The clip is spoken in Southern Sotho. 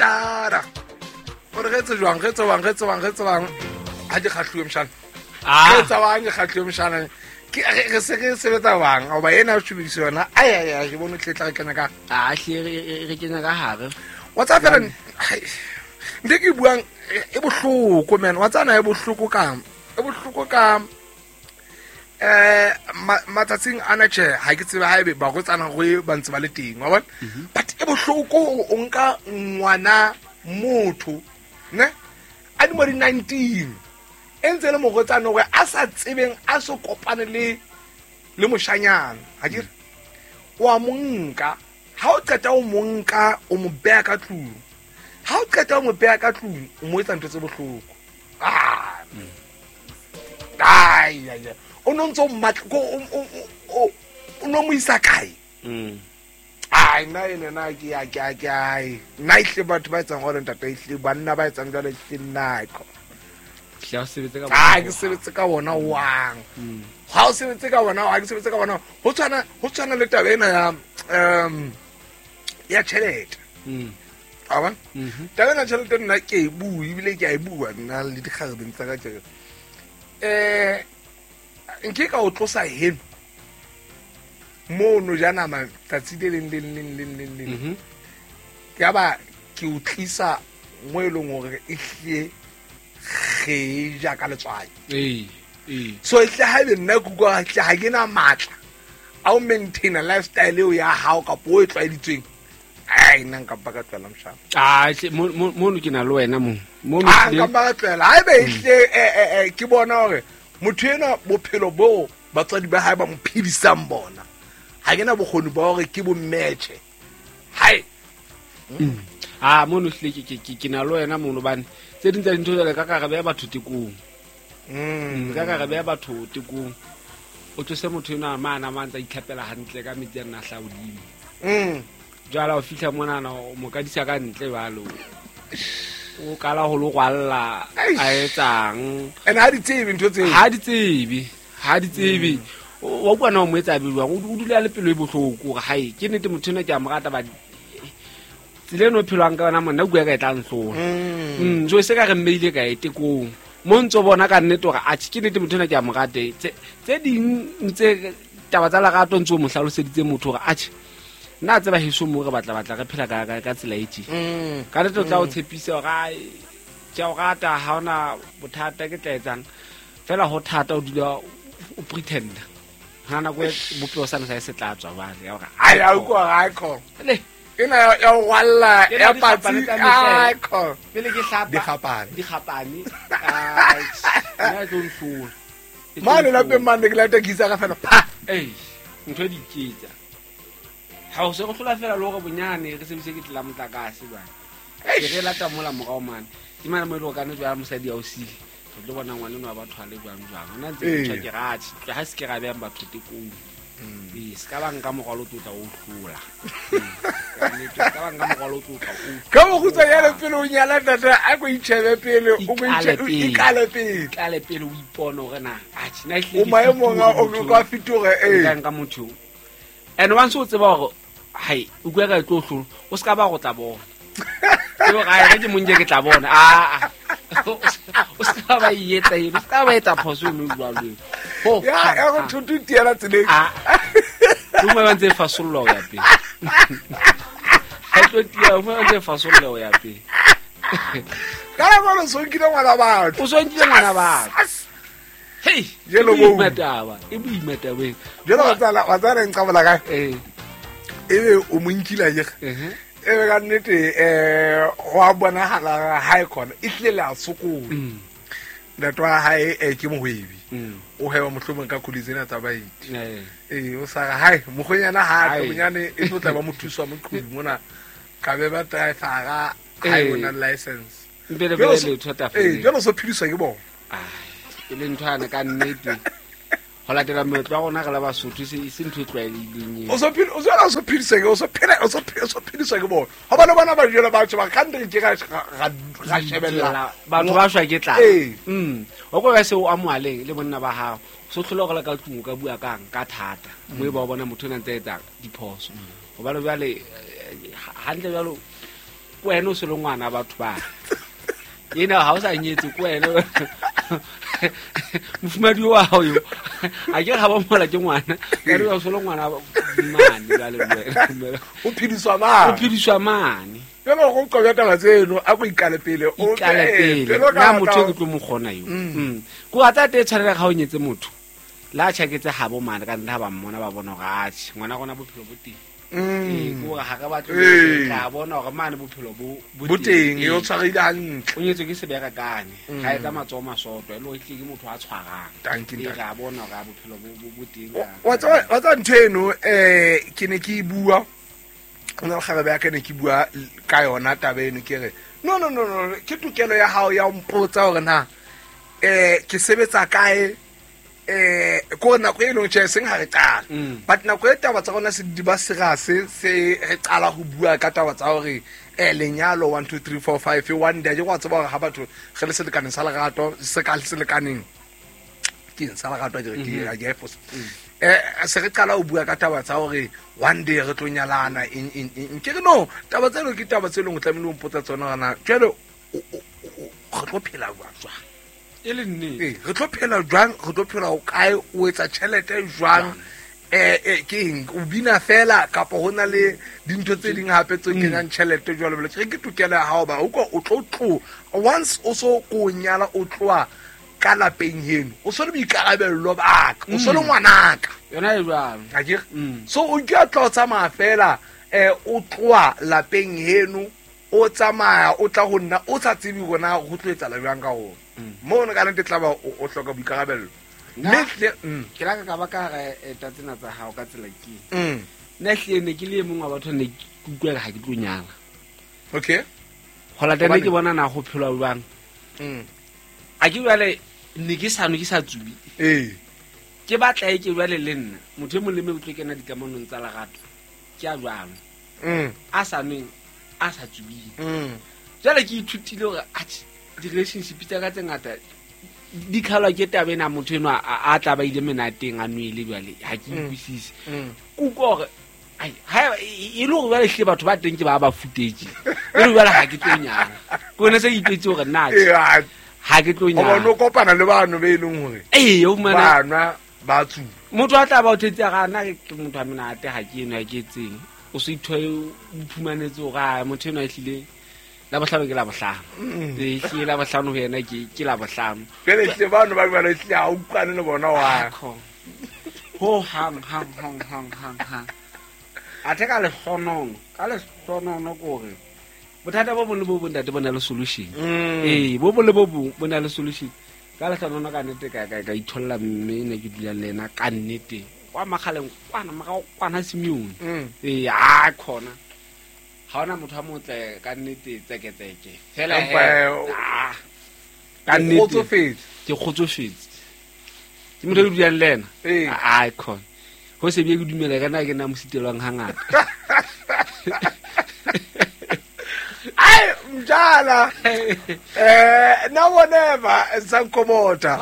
Dada gore re etse jwang, re etse bang, re etse bang, re etse bang, ha ke kgahluwe moshana. Ah. Re etsa bang, ke kgahluwe moshana. Ke re se re sebetsa bang, oba ena o tshubediso yona. Ai ai ai, ke bone tle tla re kena ka. A hle re kenya ka hare. Wa tsaya fela ntho e ke e buang e bohloko, man. Wa tsaya na e bohloko ka, e bohloko ka matsatsing ana tjhe, ha ke tsebe haebe barwetsana go ba ntse ba le teng, wa bona? But e bohloko o nka ngwana motho, ne? A di mo di 19, e ntse le morwetsana hore a sa tsebeng, a so kopane le moshanyana, ha ke re? Wa mo nka, ha o qeta o mo nka, o mo beha ka tlung. Ha o qeta o mo beha ka tlung, o mo etsa ntho tse bohloko. Ai, ai, ai. O no ntso mmatla, ko, o, o, o, o no mo isa kae? Ai, nna ene na ke ya, ke ya, ke ya, ai. Nna ehlile batho ba etsang jwalo, ntate, ehlile banna ba etsang jwalo, ehlile nna ko. Hle, ha o sebetse ka Ai, bona ke ho sebetse ka bona wang. Ha o sebetse ka bona, ha ke sebetse ka bona. Ho tshwana le taba ena ya tjhelete. Wa bona? Taba ena ya tjhelete nna ke e bua, ebile ke a e bua nna le dikgarebeng tsa ka tje. Nke ka o tlosa heno mono ja nama tsatsi le leng, leng, leng, leng, leng, leng. Ke ba ke o tlisa mo e leng hore e hlile re ja ka letswai. Ee, ee. So e hle haebe nna ke utlwa hle ha ke na matla a ho maintaina lifestyle eo ya hao kapa o e tlwaeditsweng. Ai, nna nka mpa ka tlohela moshana. Ah, hle, mono ke na le wena mo. Mono Ah, hlile nka mpa ka tlohela. Haebe e hle, ke bona hore motho enwa bophelo bo batswadi ba hae ba mo phedisang bona, ha ke na bokgoni ba hore ke bo matche. Hai. Ah, mono hlile ke na le wena mono, hobane tse ding tsa dintho jwale ka ka re beha batho tekong. Ka ka re beha batho tekong. O tlose motho enwa mane a mantse a itlhapela hantle ka metsi a nna a hlaha hodimo. Jwale ha o fihla monana, o mo kadisa ka ntle jwalo. O qala ho lo rwalla, Eish. a etsang. And ha di tsebe ntho tseo. Ha di tsebe, ha di tsebe. Wa utlwa na o mo etsa be jwang? O dula le pelo e bohloko hore hae, ke nnete motho enwa ke a mo rata, ba tsela eno o phelwang ka yona monna, o bua ka e tla nhlola. So e se ka re mmeile kae tekong. Mo ntso bona ka nnete hore atjhe, ke nnete motho enwa ke a mo rate. Tse ding ntse taba tsa lerato ntse o mo hlaloseditse motho hore atjhe, nna a tseba heso mo re batla batla re phela ka tsela e tje. Ka nnete o tla o tshepisa hore, ai, ke a o rata, ha hona bothata ke tla etsang. Fela ho thata o dula o pretender. Ha nako e bophelo sa ne sa e se tla tswa jwale, ya hore, Ai, a utlwa hore, ai, khona. Le. Ena ya ho rwalla, Ena ya dikgapane patsi, tsa mehla. ai, khona. Pele ke hlapa. Dikgapane. Dikgapane. Ai, nna e tlo nhlola. E tlo Mane nhlola. lapeng mane ke lata ke itsa ka fela, pha. Ei, ntho e di iketsa. Ha o se re hlola fela le hore bonyane re sebedise ke tsela motlakase jwale. Eish. Ke re lata mola morao mane. Ke mane mo e leng hore ka nnete jwale mosadi a o sile. Re tlo bona ngwana enwa wa batho a le jwang jwang. Hona ntse ke Ee. tjho ke re, atjhe, tla ha se ke ra behang batho tekong. Ee, se ka ba nka morwalo o tlotla o hlola. Ee, ka nnete, se ka ba nka morwalo o tlotla o hlola. Ka bokgutshwanyane pele o nyala ntate, a ko itjhebe pele, o ko Ikale itjhe-, o pele. ikale pele. Ikale pele o ipone hore na, atjhe, nna ehlile O ke maemong a, o fetohile motho ka fetoha, ee. Nka nka motho eo. And once o tseba hore, hai, o bua ka e tlo hlola, o se ka ba go tla bona. Ke hore, ai, ge ke mo nke ke tla bona. Ah, ah. O se ka ba e etsa eno, o se ka ba etsa phoso eno jwalo eo. Ho, Ya, ha, ya go ha. thoto tiela tseleng. Ah. O mongwe ba ntse e fasolla ho ya pele. Ha e tlo tiya, o mongwe ba ntse e fasolla ho ya pele. Ka nako eno o so nkile ngwana batho. O so nkile ngwana batho. Hei, Jelo e boima bo. taba, e boima taba ena. Jelo wa tsala, wa tsala e nqabola kae? Ee. Ebe o mo nkile akere? Ehe. Ebe ka nnete, ho a bonahala ha e khona, e hlile le a sokola. Ntate wa hae, ke mohwebi. O hweba mohlomong ka koloi tsena tsa baeti. Ee, o sa re, hai, mokgwenyana ha a tle, Hai. bonyane e tlo tla ba mothusi wa moqhobi mona. Ka be ba driver-a, ha e bona license. Mpe le Jwalo bele so- letho tafoleng. Ee, jwalo so phediswa ke bona. Ai, e le ntho yane ka nnete. Ho latela moetlo wa rona re le Basotho, e se ntho e tlwaelehileng eo. O so phela, o so, o so phediswa ke, o so phela, o so phela, o so phediswa ke bona. Hobane bona ba jwela batho ba ka ntle ke ra shebella. Batho ba shwa ke tlala. Ee. O kwa se o amohaleng le bonna ba hao. So tlhola gore le ka tlung o ka bua kang ka thata. Mo e ba o bona motho o na ntse a etsa diphoso. Hobane jwale, hantle jwalo, Ko wena o se le ngwana batho ba ena ha o sa nyetse ko wena mofumadi wa hao yo a ke ga ba mola ke ngwana ka re o se le ngwana mane jwale le wena. O phediswa mane. O phediswa mane. Jalo go qoba taba tseno a go ikale pele o ikale pele na motho ke tlo mo kgona yo. Ko a tsa te tshwanela ga o nyetse motho la tjhaketse ha bo mane ka nna ba mmona ba bona gore atjhe ngwana rona bophelo bo teng. Ko ga re batle tla bona gore mane bophelo bo teng e o tshwarile hantle. O nyetswe ke sebera kane ga etsa matsoho masoto e le hore ke motho a tshwarang. E ra bona gore bophelo bo teng. Wa tsa ntho eno ke ne ke bua o na le kgarebe ya ka ne ke bua ka yona taba eno ke re no no no no ke tokelo ya hao ya mpotsa hore na ke sebetsa kae ko nako e leng tjhe seng ha re qala but nako e taba tsa rona se di ba serious se re qala ho bua ka taba tsa hore lenyalo 1 2 3 4 5 one day ke wa tseba hore ha batho re le selekaneng sa lerato se ka selekaneng ke eng sa lerato ke re ke fosa se re qala ho bua ka taba tsa hore one day re tlo nyalana eng ke re no taba tseno ke taba tse leng o tlamehile o mpotsa tsona hore na jwale re tlo phela jwang e le nnete re tlo phela jwang re tlo phela o kae o etsa tjhelete jwang ke eng o bina fela kapa ho na le dintho tse ding hape tse kenyang tjhelete jwalo jwalo ke tokelo ya hao ba o tlo tlo once o so ko nyala o tloa ka lapeng heno o so le boikarabello ba ka o so le ngwanaka yona e jwalo akere so o ke tla o tsamaya fela o tloa lapeng heno o tsamaya o tla ho nna o sa tsebe hore na ho tlo etsahala jwang ka hona mo ka nnete tla ba o hloka boikarabello mme ke la ka ba ka re eta tsena tsa hao ka tsela ke nna hle ne ke le mong wa batho ne ke utlwa ha ke tlo nyala okay ho latela ke bona na ho phelwa jwang a ke jwale ne ke sa no ke sa tsubi ke batla e ke jwale le nna motho e mong le mong o tlo kena dikamanong tsa lerato ke a jwalo a sa nweng a sa tsubing jwale ke ithutile hore atjhe di-relationship tsa ka tse ngata di khalwa ke taba ena motho enwa a tla ba ile menateng a nwele jwale ha ke utlwisise ke utlwa hore ha e le hore jwale hlile batho ba teng ke ba ba futetse e le jwale ha ke tlo nyala ke yone se ke itwetse hore nna ha ke tlo nyala o kopana le bano be e leng hore o fumana ba nwa ba tsuba motho a tla ba o thetse ga nna ke motho a menate ha ke eno ha ke etseng o se ithoe o iphumanetse hore a motho enwa e hlile la bohlano ke la bohlano e la bohlano ho yena ke la bohlano jwale hlile bano ba jwale hlile ha o utlwane le bona wa ho hang hang hang hang hang hang athe ka lehlonono ke hore bothata bo bong le bo bong ntate bo na le solution bo bong le bo bong bo na le solution ka lehlonono ka nnete ka itholla mme ne ke dulang le yena ka nnete kwa makgaleng kwana morao kwana Simeone a khona ha ona motho a motle ka nnete tseketseke fela ka nnete ke kgotsofetse ke motho e dulang le ena a khona ho se bie ke dumela ka nna ke nna mo sitelwang hangata ai mjala na whatever sankomota.